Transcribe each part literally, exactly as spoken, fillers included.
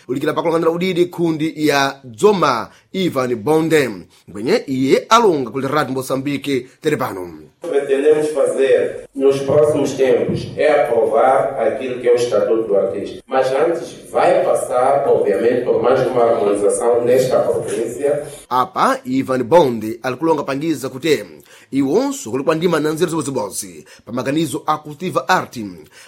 Ulikira pakulang'anira udidi khundi ya Dzoma Ivan Bonde ngwenye iye alonga kuli Radio Moçambique tere pano. Pretendemos fazer nos próximos tempos é aprovar aquilo que é o Estatuto do Artista. Mas antes vai passar, obviamente, por mais uma harmonização nesta província. Apa Ivan Bonde alikulonga pangiza kuti iwonso kuli kwa ndima na nzeru zibozibodzi pa maganizo a Cultiva Art,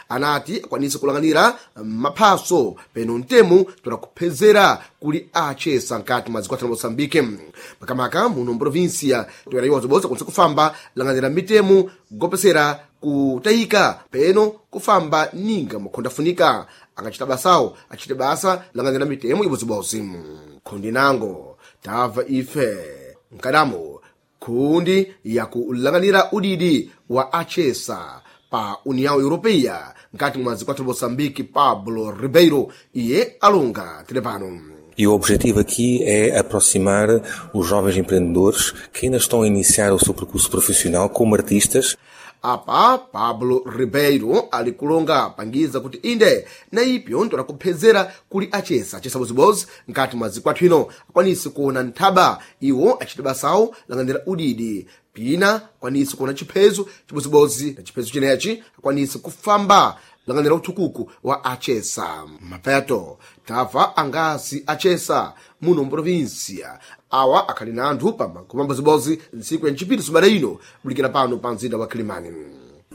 anati akwanise kulang'anira maphaso peno mtemu tola kuphezera kuli achesa nkati mwa dziko la Moçambique, makamaka muno mprovinsia toera iwo zibodzi akwanise kufamba lang'anira mitemu gopesera kutayika peno kufamba ninga mukhondafunika angachita basawo achite basa lang'anira mitemo ibodzibodzi. Khundi nango tamva ife mkadamo khundi yakulang'anira udidi wa achesa pa União Europeia nkati mwa dziko la Moçambique, Pablo Ribeiro, iye alonga tere pano. E o objetivo aqui é aproximar os jovens empreendedores que ainda estão a iniciar o seu percurso profissional como artistas. Apa Pablo Ribeiro ali kulonga pangiza kuti inde na ipyo ntola kuphezera kuli achesa achesa bozibozi nkati mwa zikwathu ino akwanise kuona nthaba iwo achite basawo lang'anira udidi pina akwanise kuona chiphezo chibozibozi na chiphezo chinechi akwanise kufamba lang'anira uthukuku wa achesa. Mapeto tafa angasi achesa muno mprovinsia awa akhali na anthu pa magoma bozibozi ntsiku ya ncipiri sumada ino bulikira pano pa mzinda wa Kilimani.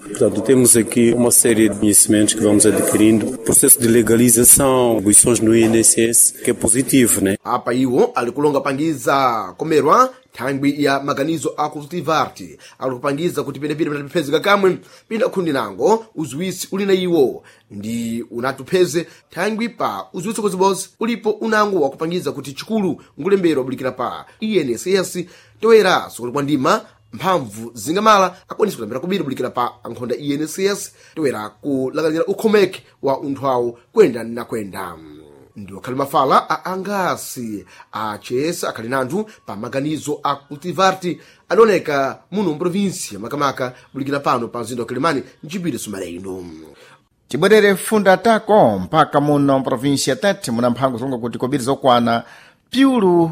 Portanto, temos aqui uma série de conhecimentos que vamos adquirindo. Processo de legalização, atribuições no I N S S, que é positivo, né? Apa iwo ali kulonga pangiza komerwa thangwi ya maganizo a Cultivarte ali kupangiza kuti penepene patapezeka kamwe pina khundi nango uziwisi uli na iwo ndi unatupheze thangwi pa uziwisi kozibozi ulipo unango wakupangiza kuti chikulu ngulembero abulikira pa I N S S toera sukuli kwa ndima mphamvu zingamala akwanisa kulembera kubiri bulikira pa ankhonda I N S S toera kulakalira ukhomeke wa unthu awo kwenda nakwenda. Ndiwo akhali mafala a angasi achesa akhali nanthu pa maganizo a Cultivarte adaoneka muno mprovinsia, makamaka bulikira pano pa mzinda wa Kilimani mchipiri sumale ino. Tibwerere funda tako mpaka muno mprovinsia Tete muna mphango zilonga kuti kobiri zokwana piulu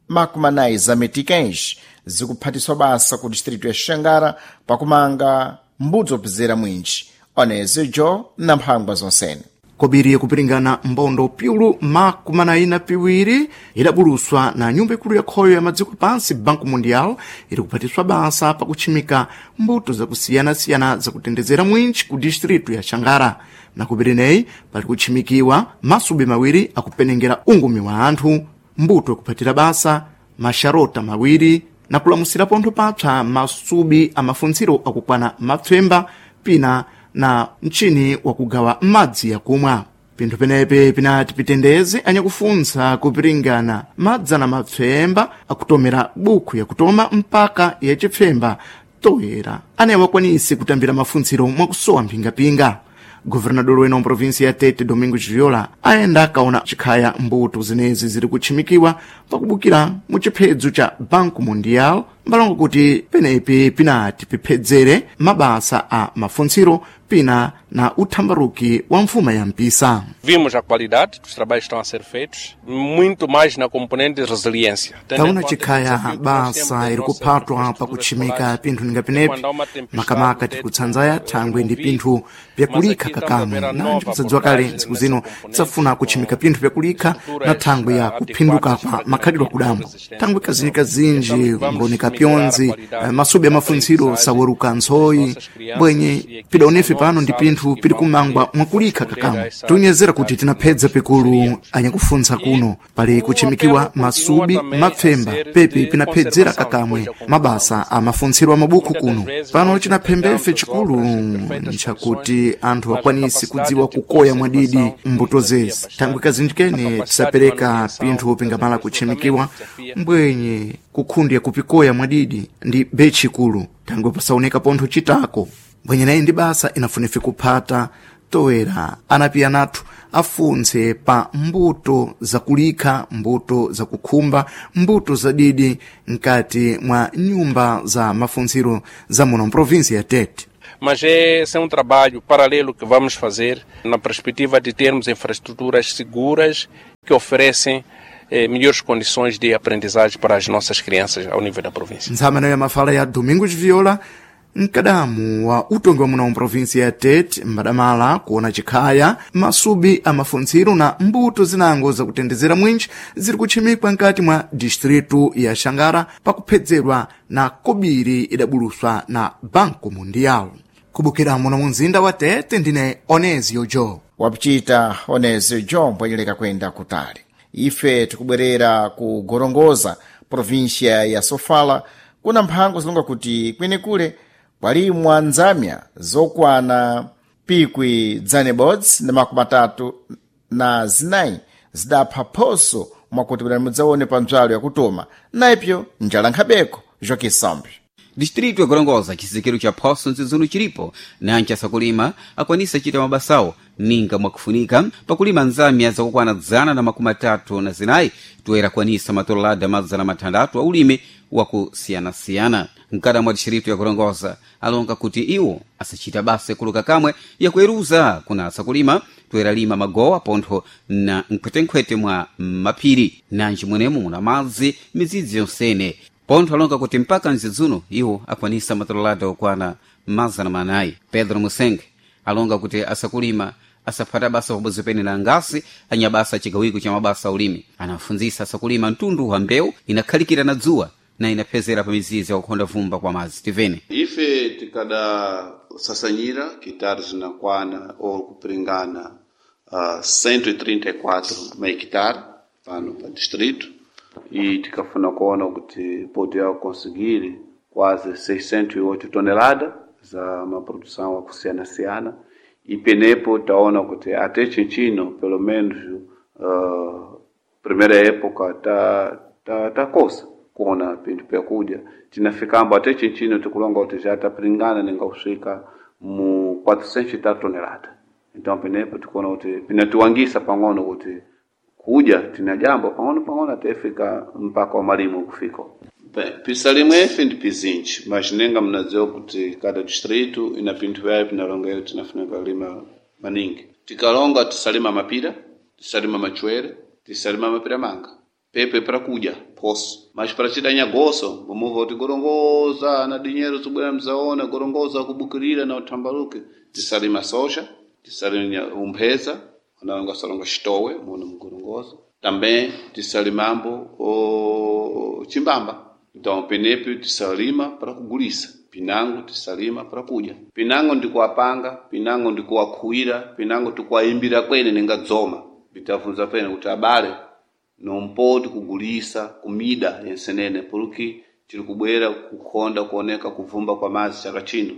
makumi anayi za meticães zikuphatiswa basa ku distrito ya Xangara pakumanga mbudzi opezera mwinji onezejo na mphangwa zonsene. Kobiri yakupiringana mbondo piulu makumi anayi na piwiri idabuluswa na nyumba ikulu ya khoyo ya madziko pansi Banco Mundial iri kuphatiswa basa pakutchimika mbuto zakusiyanasiyana zakutendezera mwinji ku distritu ya Xangara. Na kobiri neyi pali kutchimikiwa masubi mawiri akupenengera ungumi wa anthu, mbuto yakuphatira basa maxarota mawiri na kulamusira pontho papsa masubi a mafuntsiro akukwana mapfemba pina na mchini wakugawa madzi yakumwa. Pinthu penepe pinati pitendeze anyakufuntsa kupiringana madzana mapfemba akutomera bukhu yakutoma mpaka yachipfemba toyera anaye wakwanise kutambira mafuntsiro mwakusowa mphingapinga. Governador wena wa provinsi ya Tete, Domingos Viola, ayenda akaona chikhaya mbuto zenezi ziri kutchimikiwa pakubukira mu chiphedzo cha Banco Mundial mbalongo kuti penepi pinati piphedzere mabasa a mafuntsiro pina na uthambaruki wa mfuma ya mpisa. Vimos a qualidade dos trabalhos que estão a ser feitos, muito mais na componente de resiliência. Taona chikhaya basa iri kuphatwa pakutchimika pinthu ninga penepi, makamaka tikutsanzaya thangwe ndi pinthu pyakulikha kakamwe nanji kusadziwa kale ntsiku zino tisafuna kutchimika pinthu pyakulikha na thangwe ya kuphinduka kwa makhalidwe akudambo thangwe kazinji ngooneka pyonzi eh, masubi amafuntsiro saweruka ntsoyi bwenye pidaonefe pano ndi pinthu pili kumangwa mwakulikha kakamwe. Tiunyezera kuti tinaphedza pikulu anyakufuntsa kuno pali kutchimikiwa masubi mapfemba pepi pinaphedzera kakamwe mabasa a mafuntsiro a mabukhu kuno. Pano chinaphembefe chikulu nchakuti anthu akwanise kudziwa kukoya mwadidi mbuto zezi thangwe kazinji kene tisapereka pinthu pingamala kutchimikiwa mbwenye kukhundi yakupikoya mwadidi ndi bechi ikulu thangwe pasaoneka pontho chitako mbwenye nayi ndi basa inafunefe kuphata toera anapi anathu afuntse pa mbuto zakulikha, mbuto zakukhumba, mbuto zadidi mkati mwa nyumba za mafuntsiro za muno mprovinsi ya Tete. Mas é, esse é um trabalho paralelo que vamos fazer na perspectiva de termos infraestruturas seguras que oferecem eh, melhores condições de aprendizagem para as nossas crianças ao nível da província. Ntshamano ya mafala ya Domingos Viola, mkadamu wa utongi wa muno mprovinsi ya Tete mbadamala kuona chikhaya masubi a mafuntsiro na mbuto zinango zakutendezera mwinji ziri kutchimikwa nkati mwa distritu ya Xangara pakuphedzerwa na kobiri idabuluswa na Banco Mundial. Kubukira muno mu mzinda wa Tete ndine Onesio Jo. Wapichita Onesio Jo mbwenyeleka kwenda kutali. Ife tikubwerera ku Gorongosa, província ya Sofala, kuna mphango zilonga kuti kwenekule kwalimwa nzamya zokwana pikwi dzane bodzi na makumi atatu na zinayi zidapha phoso mwakuti bwera mudzaone pa mbzalo yakutoma naipyo njala nkhabeko Joaquim Sambi. Distrito ya Gorongosa, chizindikiro cha phoso mzidzunu chilipo nanchi asakulima akwanisa chita mabasawo ninga mwakufunika pakulima nzamya zakukwana dzana na makumi atatu na zinayi toera kwanisa matololada madzana mathandatu a ulimi wakusiyanasiyana. Mkada mwa distrito ya Gorongosa alonga kuti iwo asachita basa ikuluka kamwe yakueruza kuna asakulima toera lima magowa pontho na nkhwetenkhwete mwa maphiri nanji mwenemo muna madzi midzidzi yonsene pontho alonga kuti mpaka mzidzuno iwo akwanisa matololada okwana mazana manayi. Pedro Musenge alonga kuti asakulima asaphata basa pabodzi pene na ngasi anyabasa chigawiko cha mabasa ulimi. Anafunzisa asakulima mtundu wa mbewu inakhalikira na dzuwa na inaphezera pa mizizi yakukhonda vumba kwa madzi. Tivene ife tikadasasanyira kitari zinakwana ou kupiringana uh, cento e trinta e quatro hectare pano pa distrito e tikafuna kuona kuti podia conseguir quase seiscentos e oito toneladas za uma produção akusiyana-siyana e penepo taona kuti até chinchino pelo menos uh, primeira época ta ta, ta kosa kuona pinthu pyakudya tinafikambo até chinchino tikulonga kuti já tapiringana ninga kusvika mu quatrocentos e tal tonelada. Então penepo tikuona kuti pinatiwangisa pang'ono kuti kudya tina jambo pang'ono pang'ono até fika mpaka wa malimo kufika. Bem, pisalimwe ife ndi pizinji, mas nenga mnadziwa kuti cada distrito ina pinthu vyayo pinalonga iyo tinafunika lima maningi. Tikalonga tisalima mapira, tisalima machwere, tisalima mapira manga. Pepe para kudya poso, mas para chidanya goso mumuva kuti gorongoza na dinheiro zibwera mzaona gorongoza kubukirira na utambaluke. Tisalima soja, tisalima umpheza, analonga salonga xitowe muno mugorongoza. Também tisalimambo o chimbamba. Então penepo tisalima para kugulisa, pinango tisalima para kudya. Pinango ndikuwapanga, pinango ndikuwakhuwira, pinango tikuwayimbira kwene ninga dzoma. Bitafunza pene kuti abale nompoti kugulisa kumida yensenene porque tiri kubwera kukhonda kuoneka kuvumba kwa madzi chaka chino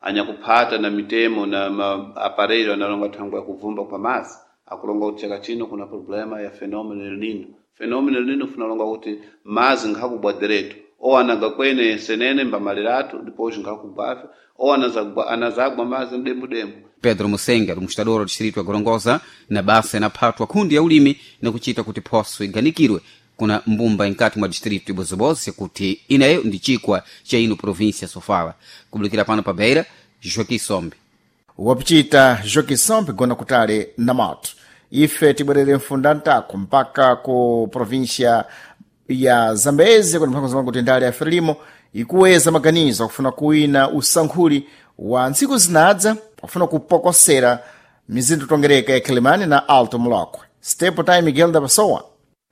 anyakuphata na mitemo na maaparelho analonga thangwi ya kuvumba kwa madzi akulonga kuti chaka chino kuna problema ya fenômeno El Nino. Fenômeno El Nino funalonga kuti madzi nkhakubwa direto ou anaga kwene yensenene mbamaliratu depois nkhakubwafe ou anazagwa, anazagwa madzi mdembudembu. Pedro Musenga, administrador do distrito ya Gorongosa, na basa inaphatwa kundi ya ulimi na kuchita kuti phoso iganikirwe kuna mbumba inkati mwa distrito ya Bozobozi kuti inayo ndi chikwa cha ino província Sofala. Kubulikira pano pa Beira, Joaquim Sombe. Wapichita Joaquim Sombe gona kutali na moto. Ife tibwerere mfunda ntako mpaka ku província ya Zambezi kuna mphango zamangu kuti ndale ya Frelimo ikuweza maganizo akufuna kuwina usankhuli wa ntsiku zinadza akufuna kupokosera mizinda tongereka ya Quelimane na Alto Molokwe. Step time Miguel da Pessoa.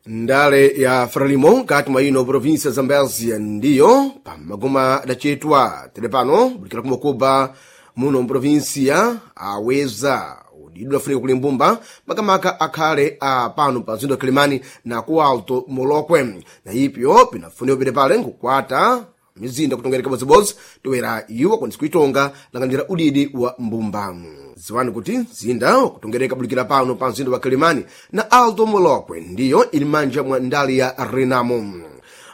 Ndale ya Frelimo nkati mwa ino província ya Zambésia ndiyo pamagoma adachetwa tere pano bulikira kumakuba muno mprovinsia aweza udidu afunika kuli mbumba makamaka akhale a pano pa mzinda wa Quelimane na ku Alto Molokwe na ipyo pinafunika pete pale nkukwata mizinda kutongereka bodzibodzi toera iwo akwanisa kuitonga langanira udidi wa mbumba. Ziwani kuti mzinda wakutongereka bulikira pano pa mzinda wa Quelimane na Alto Molokwe ndiyo ili manja mwa ndali ya Renamo.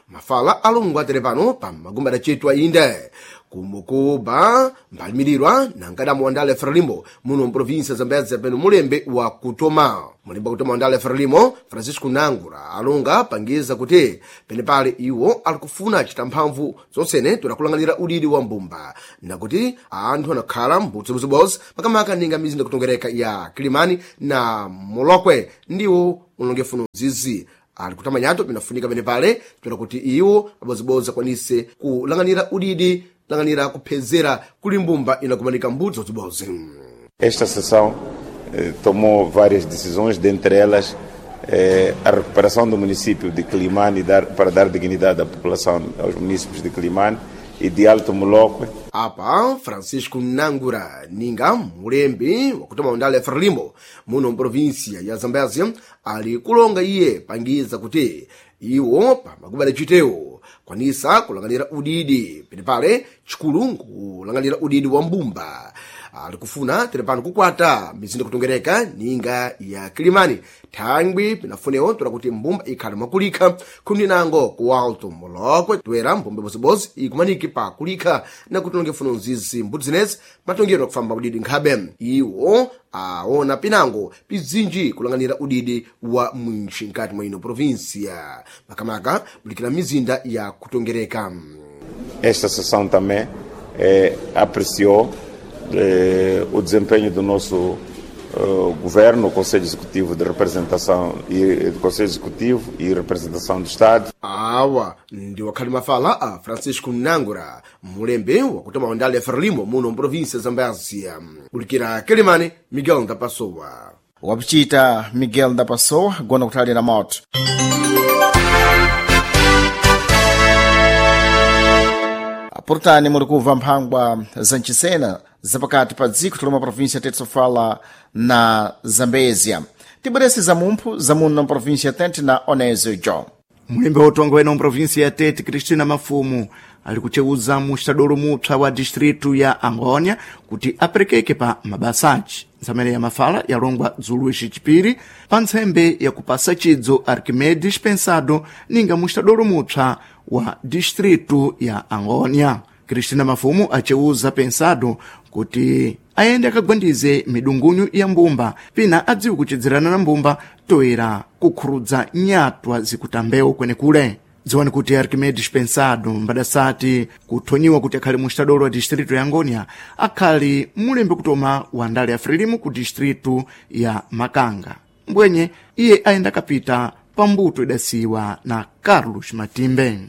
Mafala alongo atere pano pa magomba adachetwa inde kumukuba mbalimirirwa na nkadamu wa ndale Frelimo muno mprovinsia Zambezia peno mulembe wa kutoma mulembe wa kutoma wa ndale Frelimo Francisco Nangura alonga pangiza kuti penepale iwo alikufuna chita mphamvu zonsene todakulang'anira udidi wa mbumba nakuti anthu anakhala mbudzibudzibozi makamaka ninga mizinda kutongereka ya Kilimani na Molokwe ndiwo ulongefuno zizi ali kutamanyato pinafunika penepale toda kuti iwo abozibodzi akwanise kulang'anira udidi lang'anira kuphezera kuli mbumba inakumanika mbudzi zodzibozi. Esta sessão eh, tomou várias decisões, dentre elas eh, a recuperação do município de Quelimane dar, para dar dignidade à população, aos municípios de Quelimane e de Alto Molócuè. Apa Francisco Nangura ninga mulembi wakutoma undale Frelimo muno mprovinsia ya Zambezia ali kulonga iye pangiza kuti iwo pamakuba chitewo kwanisa kulang'anira udidi penepale chikulu nkulang'anira udidi wa mbumba ali kufuna telepano kukwata mizinda kutongereka ninga ya Kilimani thangwi pinafunewo tola kuti mbumba ikhale mwakulikha khumi nango ku Alto Molokwe toera mbumba ibozibodzi ikumaniki pa kulikha na kuti longefuno nzizi mbuti zinezi matongero akufamba udidi nkhabe iwo aona pinango pizinji kulang'anira udidi wa mwinchi nkati mwa ino provinsia makamaka bulikira mizinda ya kutongereka. Esta sessão também eh, apreciou eh, o desempenho do nosso eh, governo, o Conselho Executivo de Representação e do Conselho Executivo e Representação do Estado. Awa ndi wakhali mafala a Francisco Nangura mulembe wakutoma ndale ya Frelimo muno mprovinsia Zambezia kulikira Kilimani Miguel Ndapasowa. Wapichita Miguel Ndapasowa gona kuthalira moto. Portani muli kumva mphangwa za mchisena zapakati pa dziko lomwe província tete sofala na Zambezia. Tibwerese za mumphu za muno na província tete na Onésio John. Mulembe wotonga wena mprovinsia ya Tete Cristina Mafumu ali kuchewuza mustadolo mupsa wa distritu ya Angônia kuti aperekeke pa mabasaci nsamene ya mafala yalongwa dzulu ixicipiri pa ntsembe ya kupasa chidzo Arquimedes Pensado ninga mustadolo mupsa wa distritu ya Angônia. Cristina Mafumu acewuza Pensado kuti ayende akagwandize midungunyu ya mbumba pina adziwe kuchedzerana na mbumba toera kukhurudza nyatwa zikutambewo kwenekule. Dziwani kuti Arquimedes Pensado mbadasati kuthonyiwa kuti akhali mustadolo wa distritu ya Angônia akhali mulembe kutoma wa ndale ya Frelimo ku distritu ya Makanga. Mbwenye iye ayenda akapita pa mbuto idasiwa na Carlos Matimbe.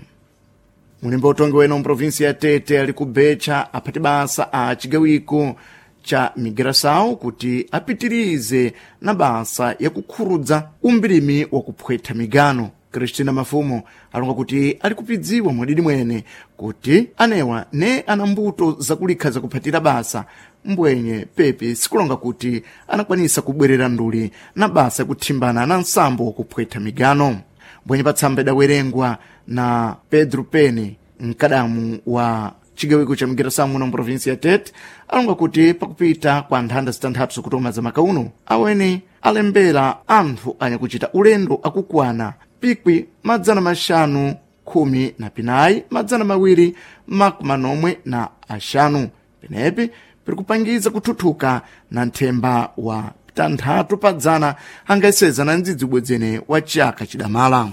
Mulembe utongi wena mprovinsi ya Tete ali kubecha aphati basa a chigawiko cha migração kuti apitirize na basa yakukhurudza umbirimi wa kuphwetha migano. Cristina Mafumo alonga kuti ali kupidziwa mwadidi mwene kuti anewa ne ana mbuto zakulikha zakuphatira basa mbwenye pepe sikulonga kuti anakwanisa kubwerera nduli na basa yakuthimbana na nsambo wakuphwetha migano. Mbwenye patsamba idawerengwa na Pedro Pene mkadamu wa chigawiko cha migiração muno mprovinsia ya Tete alonga kuti pakupita kwa nthanda zitanthatu zikutoma za makauno awene alembera anthu anyakuchita ulendo akukwana pikwi madzana maxanu khumi na pinayi madzana mawiri makumi manomwe na axanu penepi piri kupangiza kuthuthuka na nthemba wa tanthatu pa dzana angayeseza na ndzidzi ubwedzene wa chaka chidamala.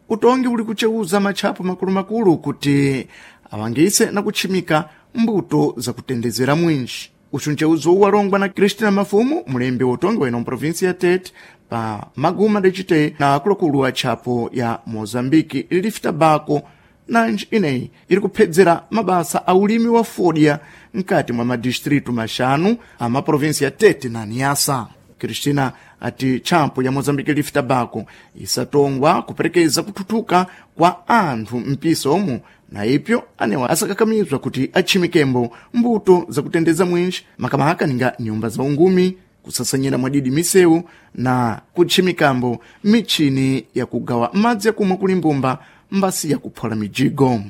Utongi uli kuchewuza matchapo makulumakulu kuti awangise na kutchimika mbuto zakutendezera mwinji. Uchu mchewuzo uwu walongwa na Cristina Mafumu mulembi wa utongi weno mprovinsi ya Tete pa maguma decite na akuluakulu a tchapo ya Mozambiki Leaf Tobacco nanji ineyi iri kuphedzera mabasa a ulimi wa fodya mkati mwa madistritu maxanu a maprovinsi ya Tete na Niassa. Cristina ati tchapo ya Mozambique Leaf Tobacco isatongwa kuperekeza kuthuthuka kwa anthu mpiso omu na ipyo anewa asakakamizwa kuti atchimikembo mbuto zakutendeza mwinji makamaka ninga nyumba za ungumi kusasanyira mwadidi misewu na kutchimikambo michini yakugawa madzi akumwa kuli mbumba mbasi yakuphola mijigo.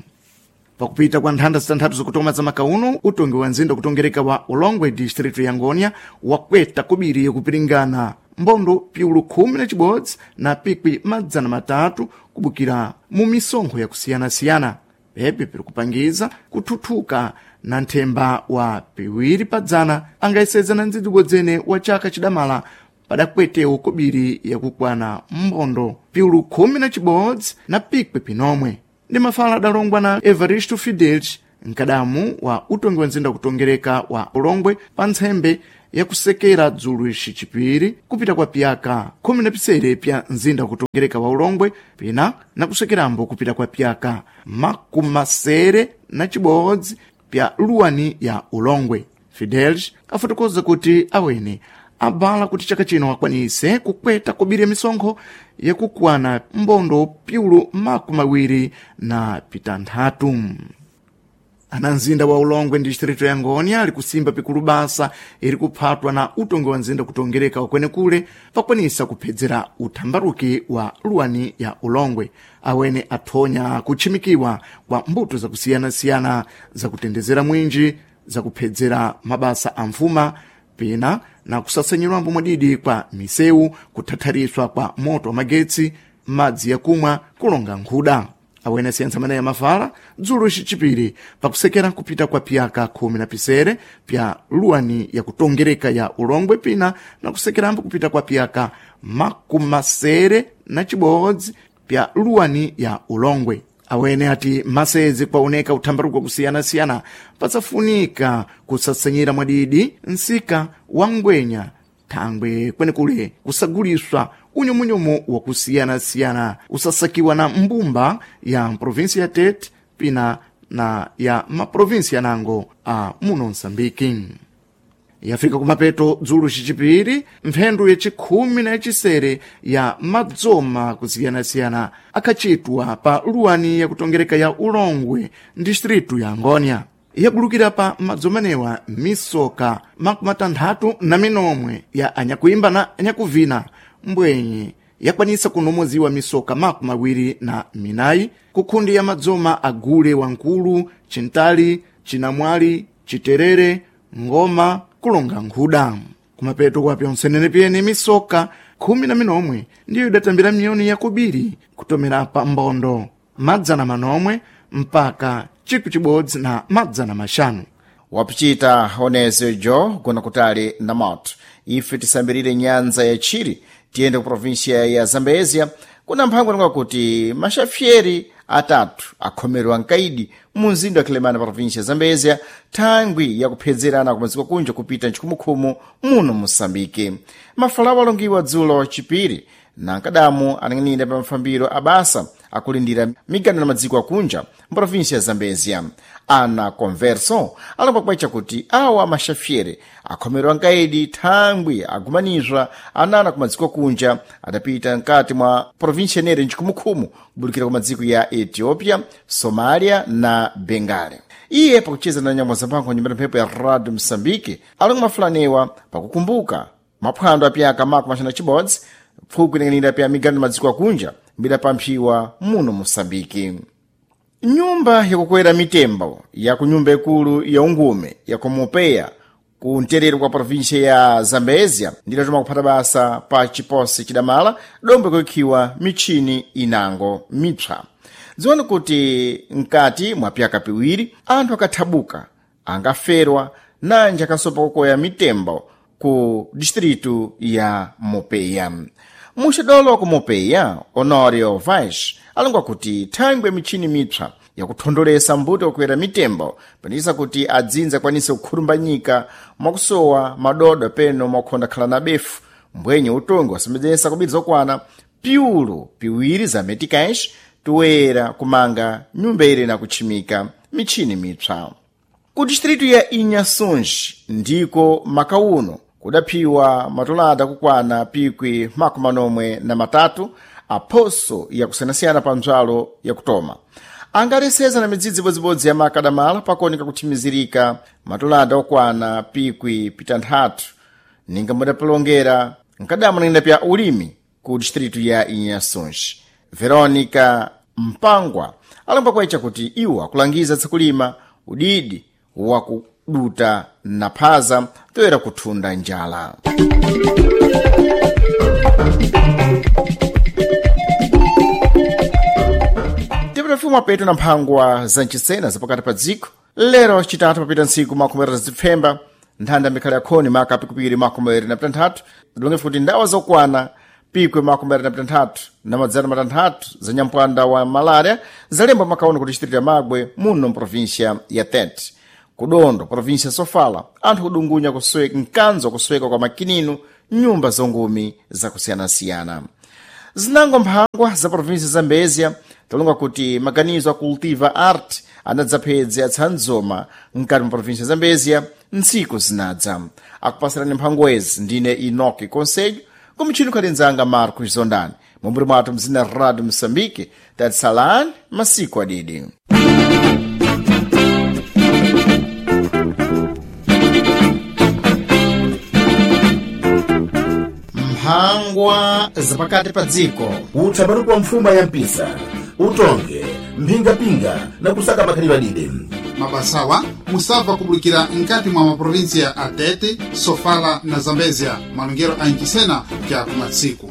Pakupita kwa nthanda zitanthatu zikutoma za makauno utongi wa nzinda kutongereka wa Ulongwe distritu ya Ngônia wakweta kubiri yakupiringana mbondo piulu khumi na chibodzi na pikwi madzana matatu kubukira mu misonkho yakusiyanasiyana. Pepe piri kupangiza kuthuthuka na nthemba wa piwiri pa dzana angayeseza na ndzidzibodzene wa chaka chidamala padakwetewo kobiri yakukwana mbondo piulu khumi na chibodzi na pikwi pinomwe. Ndi mafala adalongwa na Evaristo Fidelis, nkadamu wa utongi wa nzinda kutongereka wa Ulongwe, pa ntsembe yakusekera dzulu ixi chipiri kupita kwa piyaka khumi na pisere pya nzinda kutongereka wa Ulongwe, pina na kusekerambo kupita kwa piyaka makumasere na chibodzi pya luwani ya Ulongwe. Fidelis afotokoza kuti awene abala kuti chaka chino akwanise kukweta kobiri ya misonkho yakukwana mbondo piulu makumi awiri na pitanthatu. Ana mzinda wa Ulongwe ndi distrito ya Ngonia ali kusimba pikulu basa iri kuphatwa na utongi wa nzinda kutongereka wakwenekule pakwanisa kuphedzera uthambaruki wa luwani ya Ulongwe. Awene athonya kutchimikiwa kwa mbuto zakusiyanasiyana zakutendezera mwinji, zakuphedzera mabasa a mfuma, pina na kusasanyirwambo mwadidi kwa misewu, kuthathariswa kwa moto wa magetsi, madzi yakumwa, kulonga nkhuda. Awene asiyantsa maneya mafala dzulo ixi chipiri pakusekera kupita kwa piyaka khumi na pisere pya luwani yakutongereka ya Ulongwe, pina na kusekerambo kupita kwa piyaka makumasere na chibodzi pya luwani ya Ulongwe. Awene ati masezi kwaoneka uthambaruko kusiyanasiyana patsafunika kusasanyira mwadidi nsika wa ngwenya thangwe kwenekule kusaguliswa unyumunyumu wakusiyanasiyana usasakiwa na mbumba ya provinsi ya Tete pina na ya maprovinsi yanango a muno Msambiki. Yafika kumapeto dzulo xicipiri mphendu yacikhumi na yacisere ya madzoma kusiyanasiyana akhacitwa pa luwani yakutongereka ya Ulongwe distritu ya Ngonia. Yabulukira pa madzomanewa misoka makumi atanthatu na minomwe ya anyakuimba na anyakuvina mbwenye yakwanisa kunomoziwa misoka makumi awiri na minayi kukhundi ya madzoma agule wankulu, chintali, chinamwali, chiterere, ngoma, kulonga nkhuda. Kumapeto kwa pyonsenene pyene misoka khumi na minomwe ndiyo idatambira miyoni yakubiri kutomera pa mbondo madzana manomwe mpaka chikwi chibodzi na madzana maxanu. Wapichita onezo jo gona kutali na moto. Ife tisambirire nyanza ya Chiri tiyende ku provinsia ya Zambezia kuna mphango linga kuti maxafieri atatu akhomerwa nkaidi mu mzinda wa Kilemana provinsia ya Zambezia thangwi yakuphedzerana kumaziko kunja kupita nchikhumukhumu muno Mosambike. Mafalawo alongiwa dzulo chipiri na nkadamu anang'anira pa mafambiro abasa akulindira migano na madziko akunja mprovinsia ya Zambezia. Ana Converso alomba kwacha kuti awa maxafiere akhomerwa nkaidi thangwi agumanizwa anana ku madziko akunja adapita mkati mwa provinsia inere nchikhumukhumu kubulikira ku madziko ya Ethiopia, Somalia na Bengale. Iye pakucheza na nyambo zamphango nyumba mphepo ya Radio Msambike alonga mafulanewa pakukumbuka maphwando apyaka makumi axanu na chibodzi pfuku inang'anira pya migano madziko akunja mbidapamphyiwa muno Mosambiki. Nyumba yakukwera mitembo ya ku nyumba ikulu ya ungume ya Komopeya ku mterero kwa provinsia ya Zambezia ndidatoma kuphata basa pa chiposi chidamala dombo kuyikhiwa michini inango mipsa. Dziwani kuti mkati mwa pyaka piwiri anthu akathabuka angaferwa nanji akasopa kukoya mitembo ku distritu ya Mopeya. Muxidolo ku Mopeya, Honorio Vaz alongwa kuti thangwi michini mipsa yakuthondolesa mbuto yokwera mitembo panisa kuti adzinza akwanise kukhurumbanyika mwakusowa madodo peno mwakukhonda khala na befu mbwenye utongi wasembedzesa kubiri zokwana piulu piwiri za meticais toyera kumanga nyumba ire na kutchimika michini mipsa. Ku distritu ya Inhações ndiko makauno kudaphiwa matolada kukwana pikwi makumi manomwe na matatu aphoso yakusiyanasiyana pa mdzwalo yakutoma angaleseza na midzidzi ibodzibodzi ya makadamala pakuoneka kuthimizirika matolada okwana pikwi pitanthatu ninga mudapilongera nkadamu nang'ina pya ulimi ku distritu ya Inhações. Veronica Mpangwa alomba kwacha kuti iwo akulangiza tsikulima udidi wakuduta na phaza toyera kuthunda njala. Tipita mfumu Kumapeto na mphangwa za mchisena zapakati pa dziko lero chitatu papita ntsiku makumi atatu zipfemba nthanda mikhalo yakhoni maka pikupiri makumi awiri na pitanthatu zilonge kuti ndawa zokwana pikwe makumi atatu na pitanthatu na madzana matanthatu za nyampwanda wa malaria zalembwa makaono kuti chitirira magwe muno mprovinsia ya Tete. Kudondo provinsia Sofala anthu kudungunya kusweka mkanzo kusweka kwa makininu nyumba zongumi zakusiyanasiyana. Zinango mphangwa za provinsia Zambezia talonga kuti maganizo a Cultiva Art anadzapedze atsanzoma mkati mwa provinsia Zambezia ntsiku zinadza. Akupasirani mphangwezi ndine Enoki Conselho kumtchini khalinzanga Marcos Zondani mumburi mwathu mzina Radio Moçambique. Tatisalani masiku adidi. Mphangwa zapakati pa dziko. Utsapatukwa wa mfuma ya mpisa utonge mphingapinga na kusaka makhalidwe adide. Mabasawa musabva kubulikira nkati mwa maprovinsia a Tete, Sofala na Zambezia, malongero a Ncisena kya kumatsiku.